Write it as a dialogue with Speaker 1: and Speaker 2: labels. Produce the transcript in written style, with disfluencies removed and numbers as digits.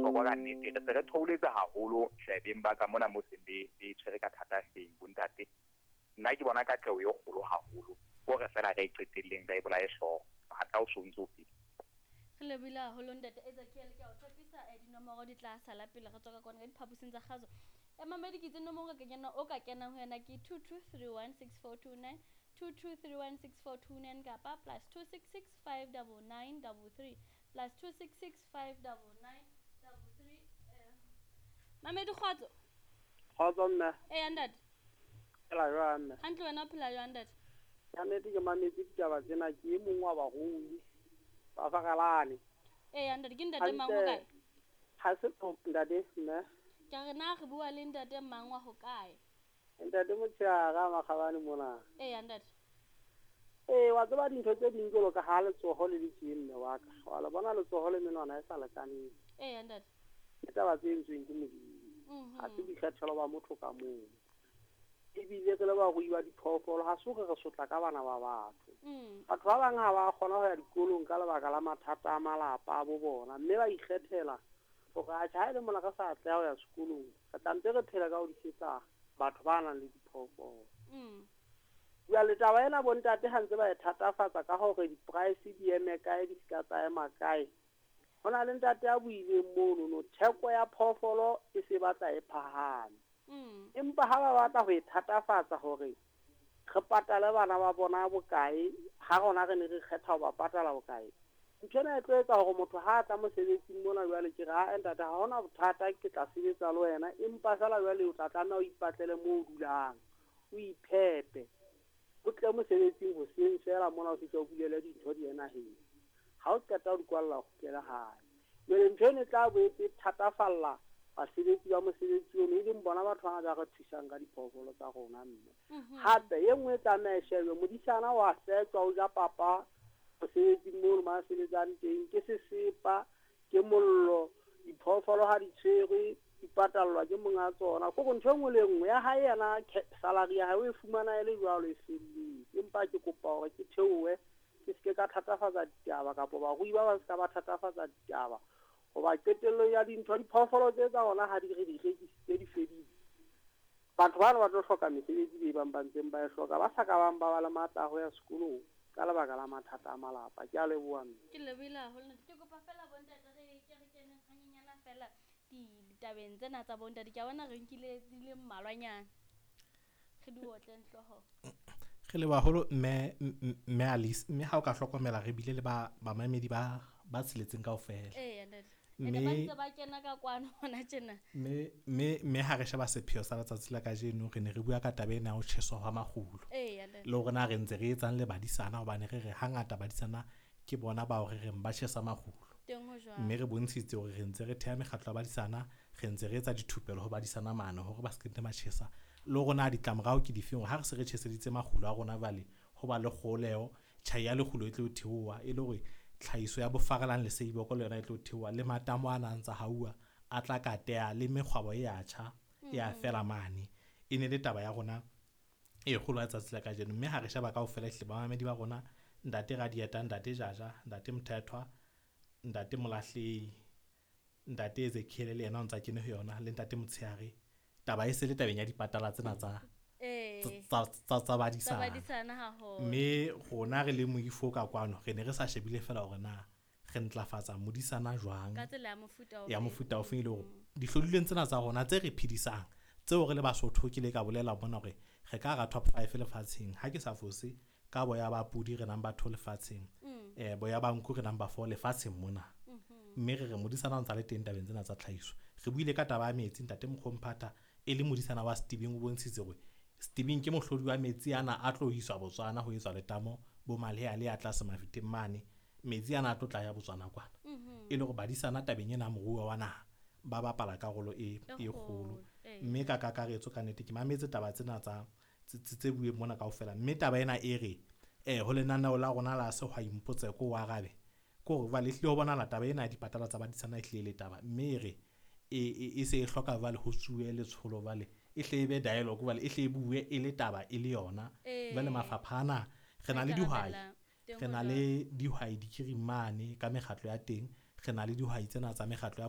Speaker 1: bohlokwa ka nnete. Re se re theoletse haholo hlabeng ba ka mona mo seng be be tshwere ka thata hleng bontate. Nna ke bona katleho e kgolo haholo. Hore fela re e qetelleng re e bolaye hlooho. Matla o so ntso o fedile.
Speaker 2: Re lebohile haholo ntate Ezekiel, ke a o tshepisa dinomoro di tla sala pele re tswa ka kwana ka diphaposing tsa kgaso. Mamedi ke itse nomoro o ka kenang ho yona ke 22316429, 22316429 kapa +266 599 33, +266 599 33. Mamedi, kgotso.
Speaker 3: Kgotso mme.
Speaker 2: Eya ntate.
Speaker 3: Phela jwang mme?
Speaker 2: Hantle, wena o phela jwang ntate?
Speaker 3: Ka nnete ke mametse ditaba tsena, ke e mong wa barui ba Faralane.
Speaker 2: Eya ntate, ke ntate mang, ho kae?
Speaker 3: Ha se ntate mme.
Speaker 2: Ke re na re bua le ntate mang wa ho kae?
Speaker 3: Ntate Motshehare Makgabane mona.
Speaker 2: Eya ntate.
Speaker 3: Ee, wa tseba dintho tse ding jwalo ka ha letsoho le le tjee mme wa ka. Wa le bona letsoho le menwana e sa lekaneng.
Speaker 2: Eya ntate.
Speaker 3: Ke taba tse entsweng ke Modimo. Ha se boikgethelo ba motho ka mong. Ebile re le barui ba diphoofolo, ha se hore re sotla ka bana ba batho. Batho ba bang ha ba kgona ho ya dikolong ka lebaka la mathata a malapa a bo bona, mme ba ikgethela hore atjhe ha e le mona re sa atleha ho ya sekolong, re tla ntse re phela ka ho disetsa batho ba nang le diphoofolo. Jwale taba ena bontate ha ntse ba e thatafatsa ka hore di-price di eme kae, di ska tsa ema kae. Ho na le ntate a buileng mono no theko ya phoofolo e se batla e phahame. Empa ha ba batla ho e thatafatsa hore re patale bana ba bona bokae, ha rona re ne re kgetha ho ba patala bokae. Ntho ena e tlo etsa hore motho ha a tla mosebetsing mona jwale ke re, ha ntate ha hona bothata, ke tla sebetsa le wena, empa feela jwale o tla tlameha o ipatlele moo o dulang, o iphepe. O tle mosebetsing hoseng feela mona o fihle o bulele dintho di ye naheng. Ha o qeta ho di kwalla, o kgutlele hae. Jwale ntho ena e tla boetse e thatafalla basebetsi ba mosebetsi ono, e leng bona batho bana ba re thusang ka diphoofolo tsa rona mme. Hape e nngwe e tlameha e shejwe, modisana wa fetjwa, o ja papa mosebetsing mono ma sebetsang teng, ke sesepa, ke mollo, diphoofolo ha di tshwerwe, di patallwa ke monga tsona. Kore ntho e nngwe le nngwe ya hae yena, salary ya hae o e fumana e le jwalo e felletse. Empa ke kopa hore ke theohe, ke seke ka thatafatsa ditaba, kapa barui ba bang se ka ba thatafatsa ditaba. Hoba qetellong ya dintho, diphoofolo tse tsa rona ha di re di rekisitse di fedile. Batho bana ba tlo hloka mesebetsi be bang ba ntseng ba e hloka, ba sa ka bang ba ba le matla a ho ya sekolong ka lebaka la mathata a malapa. Ke a leboha mme.
Speaker 2: Ke lebohile haholo. Ke kopa fela bontate re ke re keneng hanyenyana fela ditabeng tsena tsa bontate. Ke a bona re nkile di le mmalwanyana. Re di otleng hlooho.
Speaker 4: Re leboha haholo mme Alice, mme ha o ka hlokomela re bile le ba bamamedi ba ba tsheletseng kaofela.
Speaker 2: Eya ntate. Ene ba ntse ba kena ka kwano hona tjena.
Speaker 4: Mme ha re sheba sepheo sa letsatsi la kajeno, re ne re bua ka taba ena ya ho tjheswa hwa makgulo.
Speaker 2: Eya ntate.
Speaker 4: Le hore na re ntse re etsang le badisana, hobane re re hangata badisana ke bona bao re reng ba tjhesa makgulo.
Speaker 2: Teng ho jwalo.
Speaker 4: Mme re bontshitse hore re ntse re theha mekgatlo ya badisana, re ntse re etsa dithupelo ho badisana mane hore ba se ke ba tjhesa. Le hore na ditlamorao ke difeng, ha re se re tjheseditse makgulo a rona jwale, ho ba le kgoleho, tjhai ya lekgulo e tlo theoha, e le hore tlhahiso ya bofarelang le seiboko le yona e tlo theoha, le matamo a nang tsa hauwa a tla kateha, le mekgwabo e ya tjha, e ya fela mane. E ne le taba ya rona e kgolo ya tsatsi la kajeno. Mme ha re sheba kaofela ehlile bamamedi ba rona, ntate Radieta, ntate Jaja, ntate Mthethwa, ntate Molahlehi, ntate Ezekiel le yena o ntsa kene ho yona, le ntate Motshehare. Taba e se le tabeng ya dipatala tsena tsa tsa badisana.
Speaker 2: Tsa badisana haholo.
Speaker 4: Mme rona re le moifo ka kwano, re ne re sa shebile fela hore na re ntlafatsa modisana jwang
Speaker 2: ka tsela ya mofuta ofe,
Speaker 4: ya mofuta ofe, e le hore dihlodilweng tsena tsa rona tse re phedisang, tseo re le Basotho, ke le ka bolela mona hore re ka hara top 5 lefatsheng. Ha ke sa fose, ka boya ba pudi re number 2 lefatsheng, boya ba nku re number 4 lefatsheng mona. Mme re re modisana o ntsa le teng tabeng tsena tsa tlhahiso. Re buile ka taba ya metsi, ntate Mokgomphatha e le modisana wa Stebeng o bontshitse hore Stebeng ke mohlodi wa metsi ana a tlo iswa Botswana ho etswa letamo bo Malehea le a tlase Mafeteng mane. Metsi ana a tlo tla ya Botswana kwana. E le hore badisana tabeng ena moruo wa naha ba bapala karolo e kgolo. Mme ka kakaretso ka nnete ke mametse taba tsena tsa tse bueng mona kaofela. Mme taba ena e re ho lenaneo la rona la Sehwai Mpotseko wa arabe, ke hore jwale ehlile ho bonahala taba ena ya dipatala tsa badisana ehlile le taba, mme e re e se e hloka jwale ho tsuwe letsholo jwale, e hle e be dialogue jwale, e hle e bue e le taba e le yona. Jwale mafapha ana re na le dihwai, re na le dihwai dikirimane ka mekgatlo ya teng, re na le dihwai tsena tsa mekgatlo ya